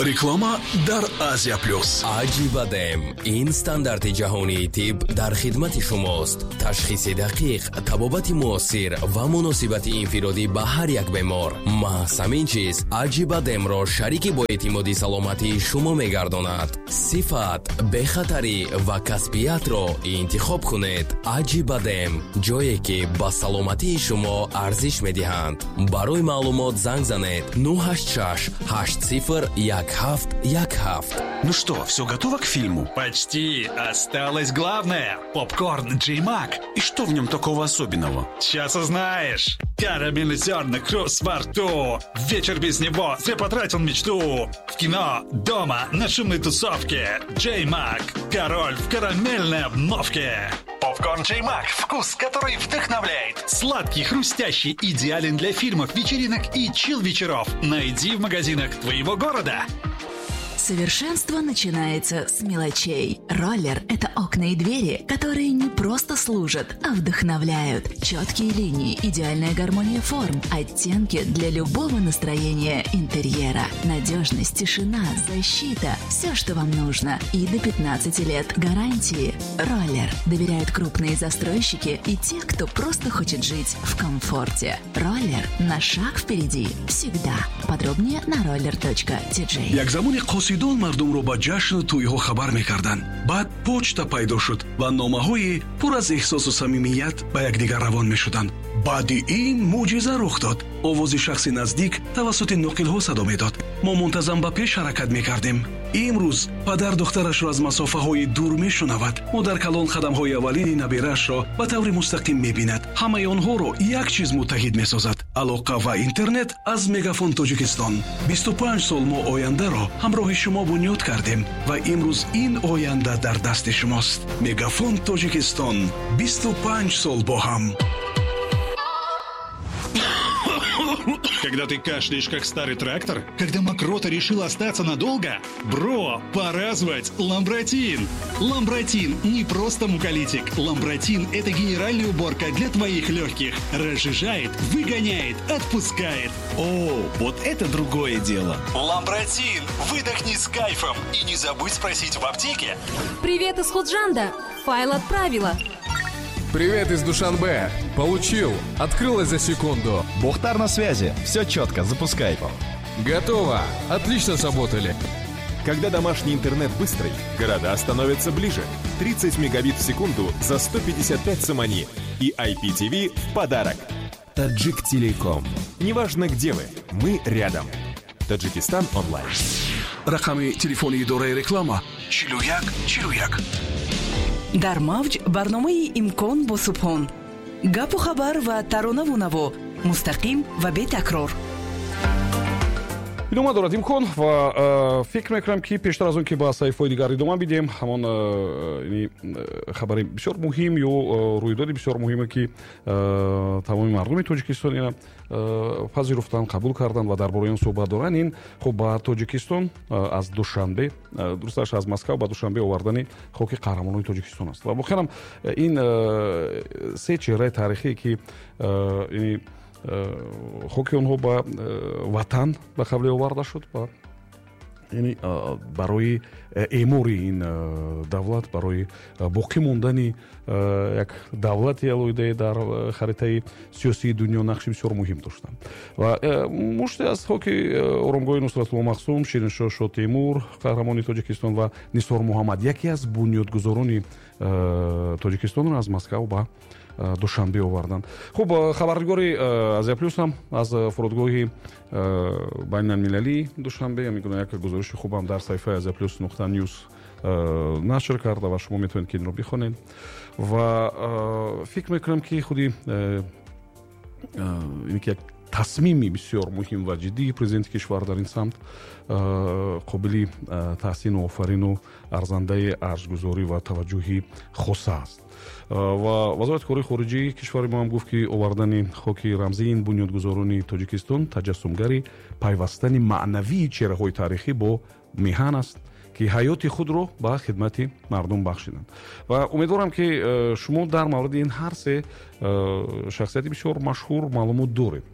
Реклама дар Азия Плюс. Аҷибадем ин стандарти ҷаҳонии тиб дар хидмати шумост. Ташхиси дақиқ, табобати муосир ва муносибати инфиродӣ ба ҳар як бемор. Маҳз ҳамин чиз Аҷибадемро шарики боэътимоди саломатии шумо мегардонад. Сифат, бехатарӣ ва касбиятро интихоб кунед. Аҷибадем, ҷое ки ба саломатии шумо арзиш медиҳанд. Барои маълумот занг занед 986 80 17 17. Ну что, все готово к фильму? Почти. Осталось главное. Попкорн Джей Мак. И что в нем такого особенного? Сейчас узнаешь. Карамельный зерна, хруст во рту. Вечер без него зря потратил мечту. В кино, дома, на шумной тусовке. Джей Мак. Король в карамельной обновке. Попкорн Джей Мак. Вкус, который вдохновляет. Сладкий, хрустящий, идеален для фильмов, вечеринок и чил-вечеров. Найди в магазинах твоего города. Совершенство начинается с мелочей. Роллер – это окна и двери, которые не просто служат, а вдохновляют. Четкие линии, идеальная гармония форм, оттенки для любого настроения интерьера. Надежность, тишина, защита – все, что вам нужно. И до 15 лет гарантии. Роллер доверяют крупные застройщики и те, кто просто хочет жить в комфорте. Роллер на шаг впереди всегда. Подробнее на roller.tj. Як замоне қосидон мардумро ба ҷашну тӯйҳо хабар мекарданд. Баъд почта пайдо шуд ва номаҳои пур аз эҳсосу самимият ба якдигар равон мешуданд. Баъди ин мӯъҷиза рух дод: овози шахси наздик тавассути ноқилҳо садо медод. Мо мунтазам ба пеш ҳаракат мекардем. Имрӯз падар духтарашро аз масофаҳои дур мешунавад, модар калон қадамҳои аввалини набираашро ба таври мустақим мебинад. Ҳамаи онҳоро як чиз муттаҳид месозад: алоқа ва интернет аз Мегафон Тоҷикистон. 25 сол мо ояндаро ҳамроҳи шумо бунёд кардем ва имрӯз ин оянда дар дасти шумост. Мегафон Тоҷикистон, 25 сол бо ҳам. Когда ты кашляешь, как старый трактор? Когда мокрота решила остаться надолго? Бро, пора звать Ламбратин! Ламбратин не просто муколитик. Ламбратин – это генеральная уборка для твоих легких. Разжижает, выгоняет, отпускает. О, вот это другое дело. Ламбратин! Выдохни с кайфом и не забудь спросить в аптеке. Привет из Худжанда! Файл отправила. Привет из Душанбе. Получил. Открылось за секунду. Бухтар на связи. Все четко, запускай. Готово. Отлично сработали. Когда домашний интернет быстрый, города становятся ближе. 30 мегабит в секунду за 155 сомони. И IPTV в подарок. Таджик Телеком. Неважно, где вы, мы рядом. Таджикистан онлайн. Рақами телефони идораи реклама: 41 41. Дар мавҷ барномаи «Имкон» бо Субҳон: гапу хабар ва таронаву наво, мустақим ва бетакрор. Идома дорад «Имкон» ва фикр мекунам, ки пештар аз он ки ба саҳифаҳои дигар идома бидиҳем, ҳамон хабари бисёр муҳим ё рӯйдоди бисёр муҳиме, ки тамоми мардуми Тоҷикистон ина пазируфтанд, қабул карданд ва дар бораи он суҳбат доранд, ин хуб ба Тоҷикистон аз Душанбе, дурусташ, аз Москав ба Душанбе овардани хоки қаҳрамонони Тоҷикистон аст. Ва воқеан ин се чеҳраи таърихие, ки хоки онҳо ба ватан ба қавле оварда шуд ва яъне барои эъмори ин давлат, барои боқӣ мондани як давлати алоҳидае дар харитаи сиёсии дунё нақши бисёр муҳим доштанд. Ва муште аз хоки оромгоҳи Нусратулло Махсум, Шириншоҳ Шотемур, қаҳрамони Тоҷикистон, ва Нисор Муҳаммад, яке аз бунёдгузорони Тоҷикистонро аз Москав ба Душанбе оварданд. Хуб, хабарнигори Азия Плюс ҳам аз фурудгоҳи байналмилалии Душанбе ҳамин гуна як гузориши хубам дар саҳифаи Азия Плюс.news нашр карда ва шумо метавонед, ки инро бихонед. Ва фикр мекунам, ки худи ин ки як тасмими бисёр муҳим ва ҷиддии президенти кишвар дар ин самт қобили таҳсину офарину арзандаи арҷгузорӣ ва таваҷҷӯҳи хоса аст. Ва Вазорати корҳои хориҷии кишвари мо ҳам гуфт, ки овардани хоки рамзии ин бунёдгузорони Тоҷикистон таҷассумгари пайвастани маънавии чеҳраҳои таърихӣ бо меҳан аст, ки ҳаёти худро ба хидмати мардум бахшиданд. Ва умедворам, ки шумо дар мавриди ин ҳар се шахсияти бисёр машҳур маълумот доред.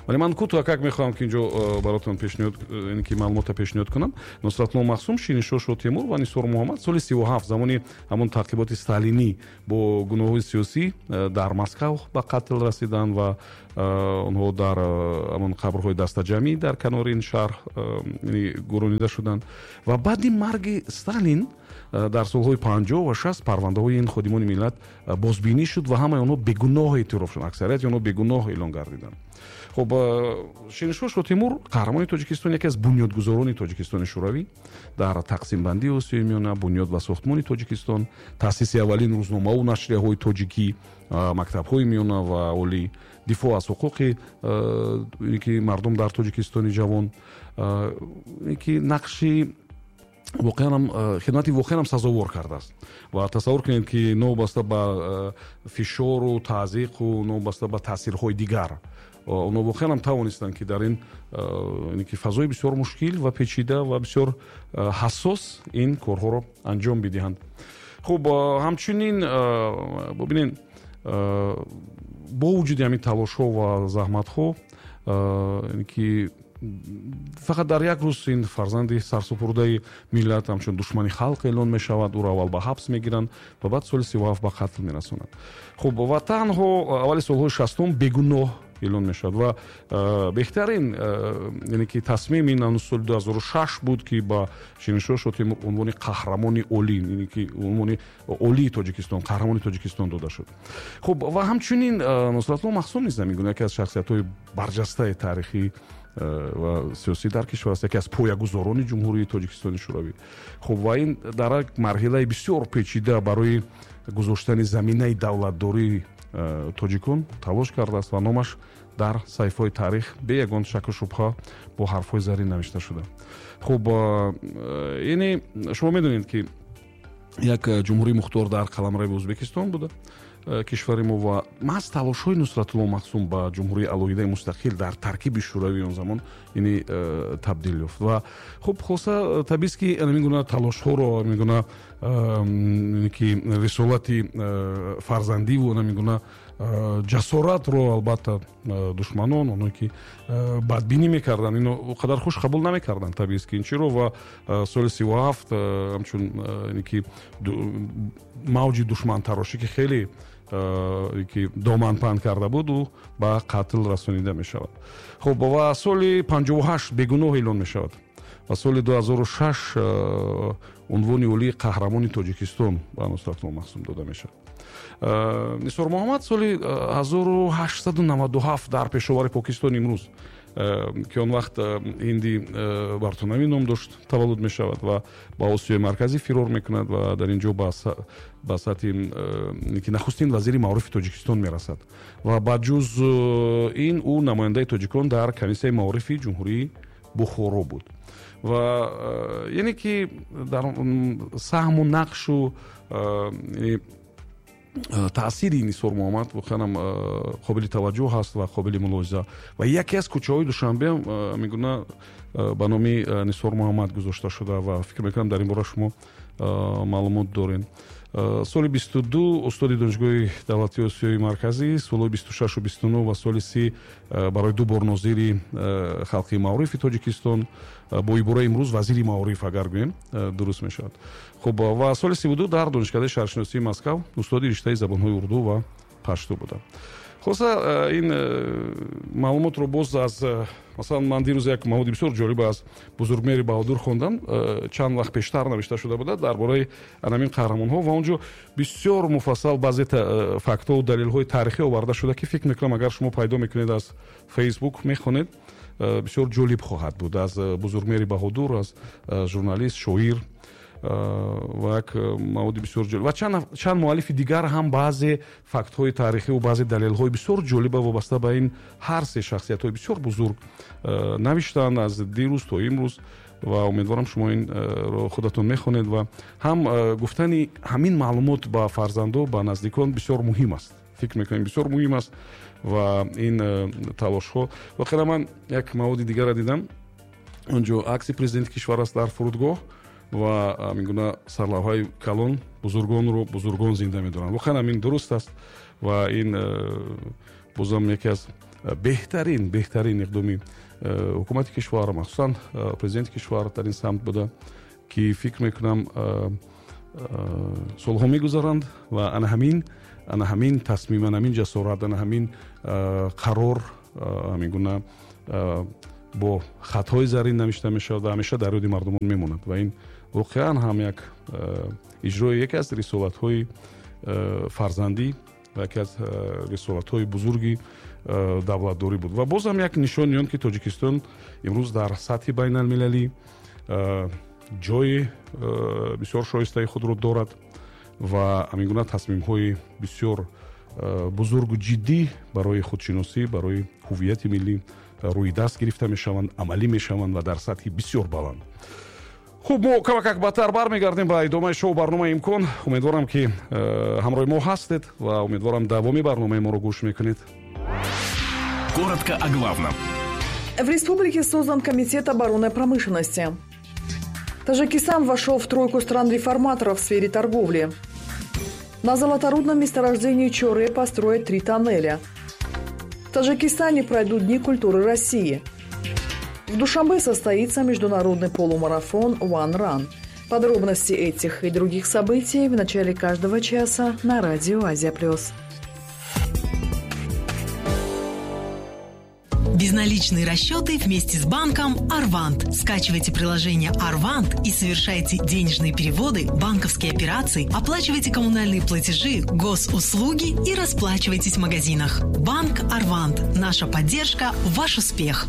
Вале ман кӯтоҳакак мехоҳам, ки инҷо баротон пешниҳод, ки маълумота пешниҳод кунам. Нусратулло Махсум, Шириншоҳ Шотемур ва Нисор Муҳаммад соли 37, замони ҳамон таъқиботи сталинӣ, бо гуноҳҳои сиёсӣ дар Москав ба қатл расиданд ва онҳо дар ҳамон қабрҳои дастаҷамъӣ дар канори ин шаҳр гуронида шуданд. Ва баъди марги Сталин дар солҳои 50 ва 60 парвандаҳои ин ходимони миллат бозбинӣ шуд ва ҳамаи онҳо бегуноҳ эътироф шуданд, аксарияти онҳо бегуноҳ эълон гардиданд. Хуб, Шириншоҳ Шотемур, қаҳрамони Тоҷикистон, яке аз бунёдгузорони Тоҷикистони Шӯравӣ дар тақсимбандии Осиёи Миёна, бунёд ва сохтмони Тоҷикистон, таъсиси аввалин рӯзномаву нашрияҳои тоҷикӣ, мактабҳои миёна ва олӣ, дифоъ аз ҳуқуқи ки мардум дар Тоҷикистони ҷавон, ки нақши воқеан хидмати воқеан ҳам сазовор кардааст. Ва тасаввур кунед, ки новобаста ба фишору таъзиқу новобаста ба таъсирҳои дигар, онҳо воқеан ҳам тавонистанд, ки дар ин ки фазои бисёр мушкил ва печида ва бисёр ҳассос ин корҳоро анҷом бидиҳанд. Хуб, ҳамчунин бубинед, бо вуҷуди ҳамин талошҳо ва заҳматҳо, ки фақат дар як рӯз ин фарзанди сарсупурдаи миллат ҳамчун душмани халқ эълон мешавад, ӯро аввал ба ҳабс мегиранд ва баъд соли 37 ба қатл мерасонанд. Хуб, ва танҳо аввали солҳои 60-ум бегуноҳ эълон мешавад ва беҳтарин, яъне ки тасмим ин ҳанӯз соли 2006 буд, ки ба Шириншоҳ Шотемур унвони қаҳрамони олӣ, яъне ки унвони олии Тоҷикистон, қаҳрамони Тоҷикистон дода шуд. Хуб, ва ҳамчунин Нусратулло Махсум низ ҳамин гуна яке аз шахсиятҳои барҷастаи таърихӣ ва сиёсӣ дар кишвар аст, яке аз поягузорони Ҷумҳурии Тоҷикистони Шӯравӣ. Хуб, ва ин дар як марҳилаи бисёр печида барои гузоштани заминаи давлатдории тоҷикон талош кардааст ва номаш дар саҳифаҳои таърих бе ягон шаку шубҳа бо ҳарфҳои зарин навишта шуда. Хуб, яъне шумо медонед, ки як ҷумҳурии мухтор дар қаламрави Ӯзбекистон буда кишвари мо ва маҳз талошҳои Нусратулло Махсум ба ҷумҳурии алоҳидаи мустақил дар таркиби Шӯравии он замон яъне табдил ёфт. Ва хуб, хулоса, табиист, ки ҳамин гуна талошҳоро, ҳамин гуна ки рисолати фарзандиву ҳамин гуна ҷасоратро албатта душманон, оное ки бадбинӣ мекарданд, ино о қадар хуш қабул намекарданд, табиист, ки ин чиро. Ва соли 37 ҳамчун ки мавҷи душмантарошӣ, ки хеле ки доман паҳн карда буд, ӯ ба қатл расонида мешавад. Хуб, ва соли 58 бегуноҳ эълон мешавад ва соли 2006 унвони олии қаҳрамони Тоҷикистон ба Нусратулло Махсум дода мешавад. Нисор Муҳаммад соли 1897 дар Пешовари Покистон имрӯз, ки он вақт Ҳинди Бартонавӣ ном дошт, таваллуд мешавад ва ба Осиёи Марказӣ фирор мекунад ва дар ин ҷо ба сатҳи ки нахустин вазири маорифи Тоҷикистон мерасад ва ба ҷуз ин ӯ намояндаи тоҷикон дар комиссияи маорифи Ҷумҳурии Бухоро буд. Ва яъне ки дар саҳму нақшу таъсири Нисор Муҳаммад воқеан қобили таваҷҷӯҳ ҳаст ва қобили мулоҳиза. Ва яке аз кӯчаҳои Душанбе мегуна ба номи Нисор Муҳаммад гузошта шуда ва фикр мекунам, дар ин бора шумо маълумот доред. Соли 22 устоди Донишгоҳи давлатии Осиёи Марказӣ, солҳои 26 29 ва соли 30 барои ду бор нозири халқи маорифи Тоҷикистон, бо ибораи имрӯз вазири маориф агар гӯем, дуруст мешавад. Хуб, ва соли 32 дар Донишкадаи шаҳршиносии Москав устоди риштаи забонҳои урду ва пашту буда. Хулоса, ин маълумотро боз аз, масалан, ман дирӯз як маводи бисёр ҷолиб аз Бузургмери Баҳодур хондам, чанд вақт пештар навишта шуда буда дар бораи анамин қаҳрамонҳо ва он ҷо бисёр муфассал баъзе фактҳову далелҳои таърихӣ оварда шуда, ки фикр мекунам, агар шумо пайдо мекунед, аз Фейсбук мехонед, бисёр ҷолиб хоҳад буд. Аз Бузургмери Баҳодур, аз журналист, шоир ва як маводи бисёр ҷолиб. Ва чанд муаллифи дигар ҳам баъзе фактҳои таърихӣ ва баъзе далелҳои бисёр ҷолиба вобаста ба ин ҳар се шахсиятҳои бисёр бузург навиштанд аз дирӯз то имрӯз. Ва умедворам, шумо инро худатон мехонед. Ва ҳам гуфтани ҳамин маълумот ба фарзандо, ба наздикон бисёр муҳим аст, фикр мекунем, бисёр муҳим аст. Ва ин талошҳо воқеан, ман як маводи дигарро дидам, он ҷо акси президенти кишвар аст дар фурудгоҳ ва ҳамин гуна сарлавҳаи калон: «Бузургонро бузургон зинда медоранд». Воқеан ҳамин дуруст аст ва ин бозам яке аз Беҳтарин иқдоми ҳукумати кишвар, махсусан президенти кишвар дар ин самт буда, ки фикр мекунам, солҳо мегузаранд ва ана ҳамин тасмим, ана ҳамин ҷасорат, ана ҳамин қарор ҳамин гуна бо хатҳои зарин навишта мешавад ва ҳамеша дар ёди мардумон мемонад. Ва ин воқеан ҳам як иҷрои яке аз рисолатҳои фарзандӣ ва яке аз рисолатҳои бузурги давлатдорӣ буд. Ва боз ҳам як нишони он, ки Тоҷикистон имрӯз дар сатҳи байналмилалӣ ҷои бисёр шоистаи худро дорад ва ҳамин гуна тасмимҳои бисёр бузургу ҷиддӣ барои худшиносӣ, барои ҳуввияти миллӣ рӯи даст гирифта мешаванд, амалӣ мешаванд ва дар сатҳи бисёр баланд. Хуб, мо камакак баъдтар бармегардем ба идомаи шоу барномаи «Имкон». Умедворам, ки ҳамроҳи мо ҳастед ва умедворам, давоми барномаи моро гӯш мекунед. Коротко о главном. В республике создан комитет оборонной промышленности. Таджикистан вошел в тройку стран-реформаторов в сфере торговли. На золоторудном месторождении Чоре построят 3 тоннеля. В Таджикистане пройдут Дни культуры России. В Душанбе состоится международный полумарафон One Run. Подробности этих и других событий в начале каждого часа на радио «Азия Плюс». Безналичные расчеты вместе с банком «Арвант». Скачивайте приложение «Арвант» и совершайте денежные переводы, банковские операции, оплачивайте коммунальные платежи, госуслуги и расплачивайтесь в магазинах. Банк «Арвант». Наша поддержка – ваш успех.